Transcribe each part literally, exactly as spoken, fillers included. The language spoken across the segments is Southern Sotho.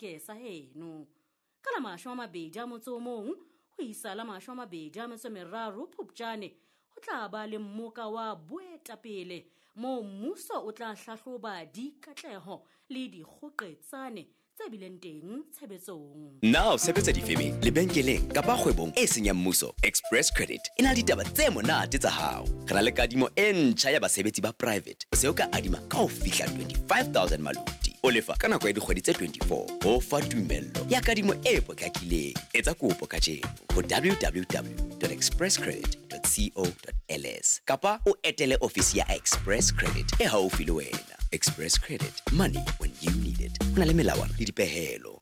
Ke sa heno. Ka la mashome a mabedi a motso o mong ho isa la mashome a mabedi a metso e meraro Phupjane ho tla ba le mmoka wa boetapele moo mmuso o tla hlahloba dikatleho le dikgoqetsane tse bileng teng tshebetsong. Na o sebetsa difemeng, lebenkeleng kapa kgwebong e seng ya mmuso? Express Credit e na le ditaba tse monate tsa hao. Re na le kadimo e ntjha ya basebetsi ba private. O se o ka adima ka ho fihla twenty-five thousand maluti. O lefa ka nako ya dikgwedi tse twenty-four. Ho fa tumello ya kadimo e potlakileng. Etsa kopo kajeno ho w w w dot express credit dot co dot l s kapa o etele ofisi ya Express Credit e haufi le wena. Express Credit, money when you need it. Ho na le melawana le dipehelo.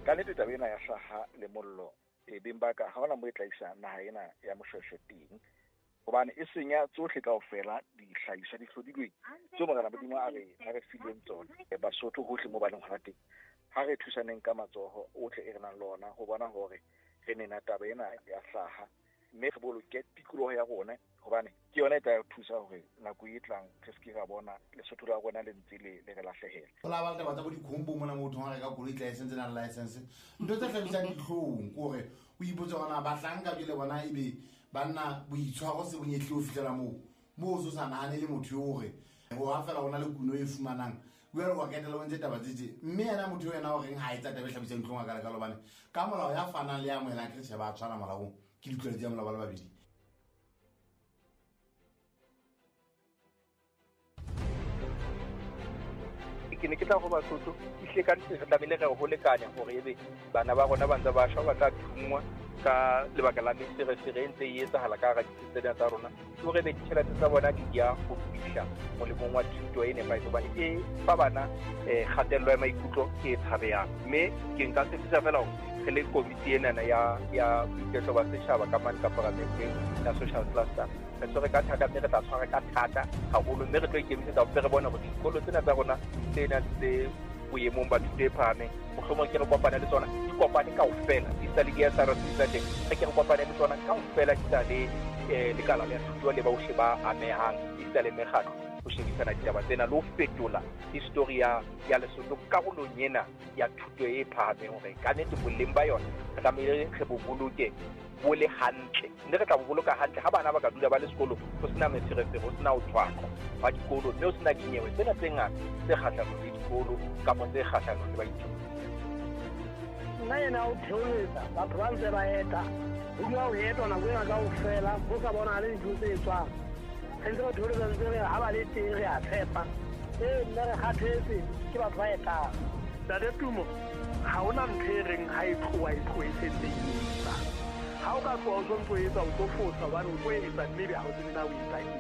Ka nnete taba ena ya hlaha le mollo e beng ba ka ha hona mo e tla isa naha ena ya Moshweshwe teng, hobane e senya tsohle kaofela dihlahiswa di hlodilweng tseo Morena Modimo a re a re fileng tsona. Basotho hohle mo ba leng hona teng, ha re thusaneng ka matsoho ohle e re nang le ona ho bona hore re nena taba ena ya hlaha, mme re boloke tikoloho ya rona, hobane ke yona e tla re thusa hore nako e tlang re se ke ra bona Lesotho la rona le ntse le le re lahlehela. Ho la ba le taba tsa bo dikhombo mona motho ha reka koloi license na license, ntho tse hlabisang dihlong ke hore o ipotse hore na bahlanka jwale bona ebe banna boitshwaro se bonyehle ho fihlela moo moo o so sa nahane le motho eo hore ho ha fela hona le kuno e fumanang jwale wa ketela o ntse taba tse tje, mme yena motho ena o reng ha etsa taba e hlabisang dihlong a ka leka hobane ka molao ya fanang le ya amohelang ke tjhe ba tshwana molaong ke ditlwaelo tsa molao ba le babedi. Ke ne ke tla ho Basotho ehlile ka nnete re tlamehile re ho lekanya hore ebe bana ba rona ba ntse ba shwa ba tla thungwa ka lebaka la meferefere e ntse e etsahala ka hara ditsi tsena tsa rona, ke hore ebe ditjhelete tsa bona di ya ho fihla molemong wa thuto e nepahetseng, hobane e fa bana eh kgatello ya maikutlo e tshabehang. Mme ke nka tshepisa fela hore re le komiti enana ya ya boiketlo ba setjhaba ka mane ka paramenteng ya social cluster, re tshwere ka thata mme re tla tshwara ka thata haholo, mme re tlo ikemisetsa hore re bone hore dikolo tsena tsa rona tse nang tse boemong ba thuto e phahameng mohlomong ke re kopane le tsona di kopane kaofela, di sa le di S R C tsa teng, re ke re kopane le tsona kaofela di sa le eh lekala la thuto le bohle ba amehang, di sa le mekgatlo ho shebisana ditaba tsena le ho fetola history ya ya Lesotho karolong ena ya thuto e phahameng, hore ka nnete boleng ba yona re tlamehile re bo boloke bo le hantle, mme re tla bo boloka hantle ha bana ba ka dula ba le sekolo ho sena meferefere, ho sena ho tshwaqwa ba dikolo, mme ho sena dinyewe tsena tse ngata tse kgahlanong le dikolo kapa tse kgahlanong le baithuti. Nna ena o theoletsa batho ba ntse ba eta, ho dula ho etwa nako ena kaofela, ho sa bonahale dintho tse etswang. Re ntse re theoletsa ntse re ha ba le teng re a tshepa. Ee, nna re kgathetse ke batho ba etang. Ntate Tumo, ha hona ntho e reng ha e tloha e tlohe e sentse e etsa. Ha o ka tloha o sontso o etsa, o tlo fosa hobane o tlo etsa mme ebe ha o tsebe na o etsa eng.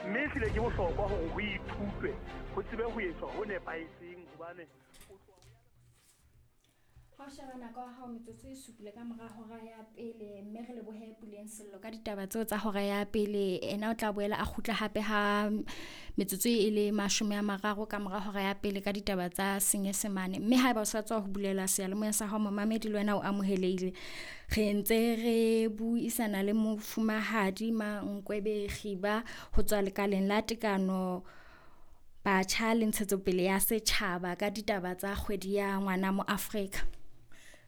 Mme ehlile ke bohlokwa hore ho ithutwe, ho tsebe ho etswa ho nepahetseng hobane o tloha o ya Ha o sheba nako ya hao metsotso e supile ka mora hora ya pele, mme re lebohe Puleng Sello ka ditaba tseo tsa hora ya pele. Ena o tla boela a kgutla hape ha metsotso e le mashome a mararo ka mora hora ya pele ka ditaba tsa Senyesemane. Mme haeba o sa tswa ho bulela seyalemoya sa hao momamedi, le wena o amohelehile. Re ntse re buisana le mofumahadi Mankwebe Khiba ho tswa lekaleng la tekano batjha le ntshetsopele ya setjhaba ka ditaba tsa kgwedi ya ngwana mo Afrika.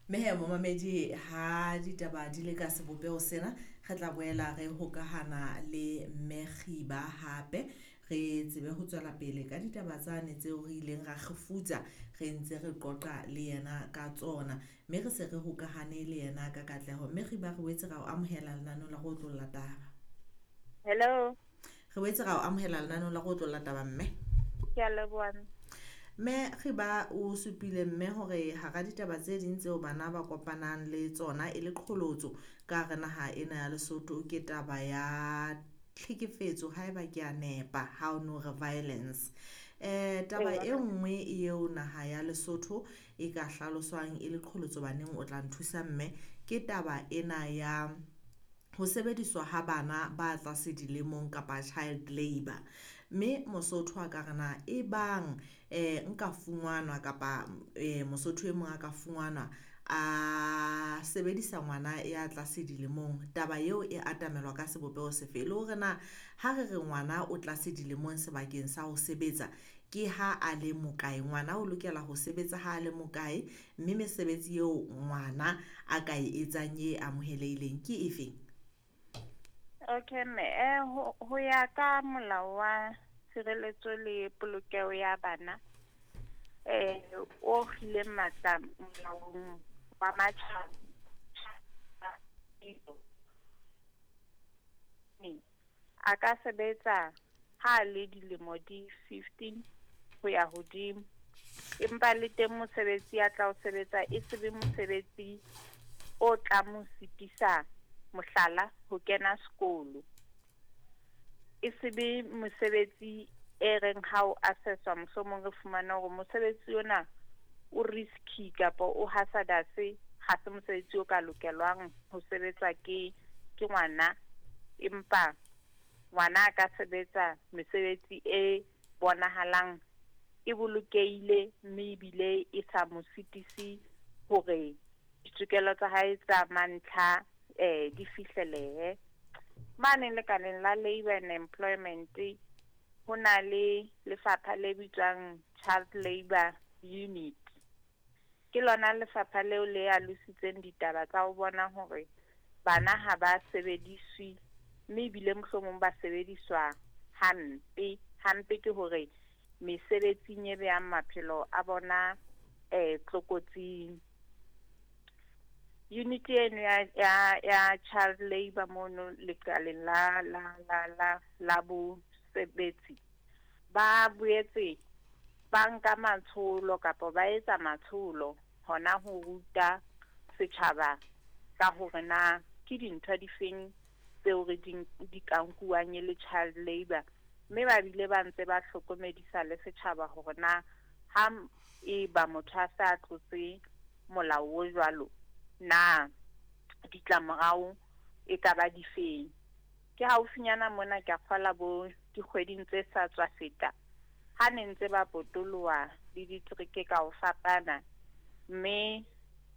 Mme he momamedi, ha ditaba di le ka sebopeho sena, re tla boela re hokahana le Mme Khiba hape, re tsebe ho tswela pele ka ditaba tsane tseo re ileng ra kgefutsa re ntse re qoqa le yena ka tsona, mme re se re hokahane le yena ka katleho. Mme Khiba, re boetse ra o amohela lenaneo la go otlolla taba. Hello. Re boetse ra o amohela lenaneo la go otlolla taba, mme. Ke a leboha. Mme Khiba, o supile mme hore hara ditaba tse ding tseo bana ba kopanang le tsona e le qholotso ka hare naha ena ya Lesotho ke taba ya tlhekefetso, haeba ke a nepa, ha o no re violence. Eh taba e nngwe eo naha ya Lesotho e ka hlaloswang e le qholotso baneng, o tla nthusa mme, ke taba ena ya ho sebediswa ha bana ba tlase dilemong kapa child labor. Mme Mosotho a ka re na e bang eh nka fungwanwa kapa eh Mosotho e mong a ka fungwanwa a sebedisa ngwana ya tlase dilemong, taba eo e atamelwa ka sebopeho sefe? Le hore na ha re re ngwana o tlase dilemong sebakeng sa ho sebetsa, ke ha a le mokae, ngwana o lokela ho sebetsa ha a le mokae, mme mesebetsi eo ngwana a ka e etsang e amohelehileng ke efeng? Okay mme, eh ho, ho ya ka molao wa tshireletso le polokeho ya bana eh o kgileng matla molaong wa matjhaba a ka sebetsa ha le dilemo di fifteen ho ya hodimo, empa le teng mosebetsi ya tla o sebetsa e se be mosebetsi o tla mo sitisa, mohlala ho kena sekolo, e se be mosebetsi e reng ha o assesswa mohlomong re fumana hore mosebetsi ona o risky kapa o hazardous, ha se mosebetsi o ka lokelwang ho sebetswa ke ke ngwana, empa ngwana a ka sebetsa mesebetsi e bonahalang e bolokehile mme ebile e sa mo sitise hore ditokelo tsa hae tsa mantlha eh di fihlelehe. Mane lekaleng la Labour and Employment ho na le lefapha le bitswang Child Labour Unit. Ke lona lefapha leo le alositseng ditaba tsa ho bona hore bana ha ba sebediswe mme ebile mohlomong ba sebediswa hampe. Hampe ke hore mesebetsing e behang maphelo a bona eh tlokotsing. Unit eno ya ya ya child labor mono lekaleng la la la la la bosebetsi ba boetse ba nka matsholo kapa ba etsa matsholo hona ho ruta setjhaba ka hore na ke dintho difeng tseo re di di ka nkuwang e le child labor, mme ba bile ba ntse ba hlokomedisa le setjhaba hore na ha e ba motho a sa tlotse molao o jwalo na ditlamorao e ka ba difeng. Ke haufinyana mona ke a kgola bo dikgweding tse sa tswa feta ha ne ntse ba potoloha le ditereke ka ho fapana, mme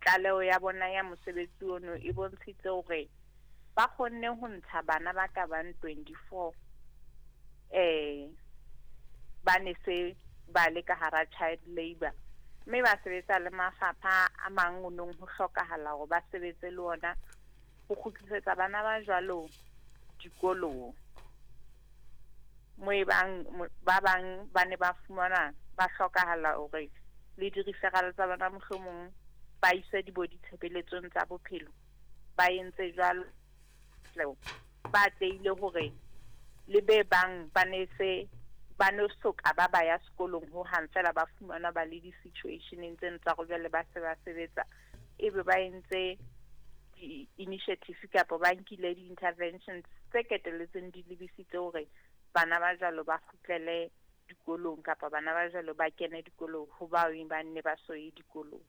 tlaleho ya bona ya mosebetsi ono e bontshitse hore ba kgonne ho ntsha bana ba ka bang twenty-four eh ba ne se ba le ka hara child labor, mme ba sebetsa le mafapha a mang o nong ho hlokahala hore ba sebetse le ona ho kgutlisetsa bana ba jwalo dikolong. Mo e bang ba bang ba ne ba fumana ba hlokahala hore le di-referral tsa bana mohlomong ba iswe dibo ditshebeletsong tsa bophelo, ba entse jwalo ba atlehile hore le be bang ba ne se ba no soka ba ba ya sekolong ho hang fela ba fumana ba le di-situationeng tseno tsa hore jwale ba se ba sebetsa, ebe ba entse di-initiative kapa ba nkile di-interventions tse keteletseng di lebisitse hore bana ba jwalo ba kgutlele dikolong kapa bana ba jwalo ba kene dikolong ho bao ba nne ba so ye dikolong.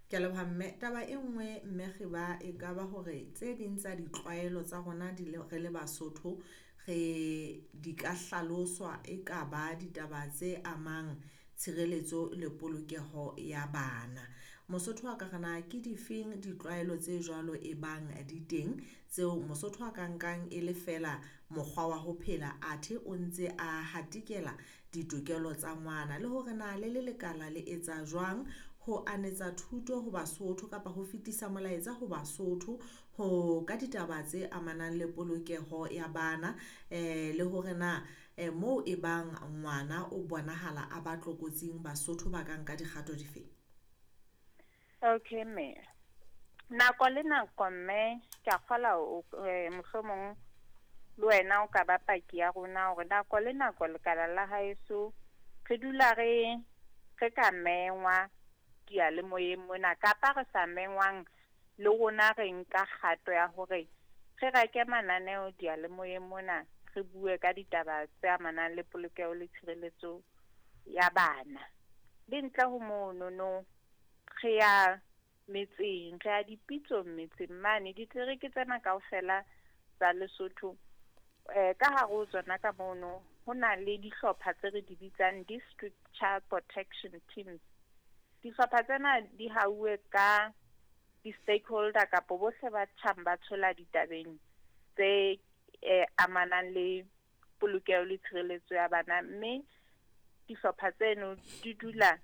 Ke a leboha mme. Taba e nngwe mme Khiba e ka ba hore tse ding tsa ditlwaelo tsa rona di le re le Basotho re di ka hlaloswa e ka ba ditaba tse amang tshireletso le polokeho ya bana. Mosotho a ka re na ke difeng ditlwaelo tse jwalo e bang di teng tseo Mosotho a ka nkang e le feela mokgwa wa ho phela athe o ntse a hatikela ditokelo tsa ngwana, le hore na le le lekala le etsa jwang ho anetsa thuto ho Basotho kapa ho fetisa molaetsa ho Basotho ho ka ditaba tse amanang le polokeho ya bana, eh le hore na eh, moo e bang ngwana o bonahala a ba tlokotsing Basotho ba ka nka dikgato difeng? Okay mme, nako le nako mme ke a kgola o eh, mohlomong le wena o ka ba paki ya rona hore nako le nako lekala la haeso re dula re re ka mengwa diyalemoyeng mona kapa re sa mengwang le rona re nka kgato ya hore re reke mananeo diyalemoyeng mona re bue ka ditaba tse amanang le polokeho le tshireletso ya bana. Le ntle ho mono no re ya metseng, re ya dipitsong metseng mane ditereke tsena kaofela tsa Lesotho eh ka hare ho tsona ka mono ho na le dihlopha tse re di bitsang district child protection teams. Dihlopha tsena di hauwe ka di-stakeholder kapa bohle ba tjhang ba tshola ditabeng tse eh, amanang le polokeho le tshireletso ya bana, mme Dihlopha tseno di dula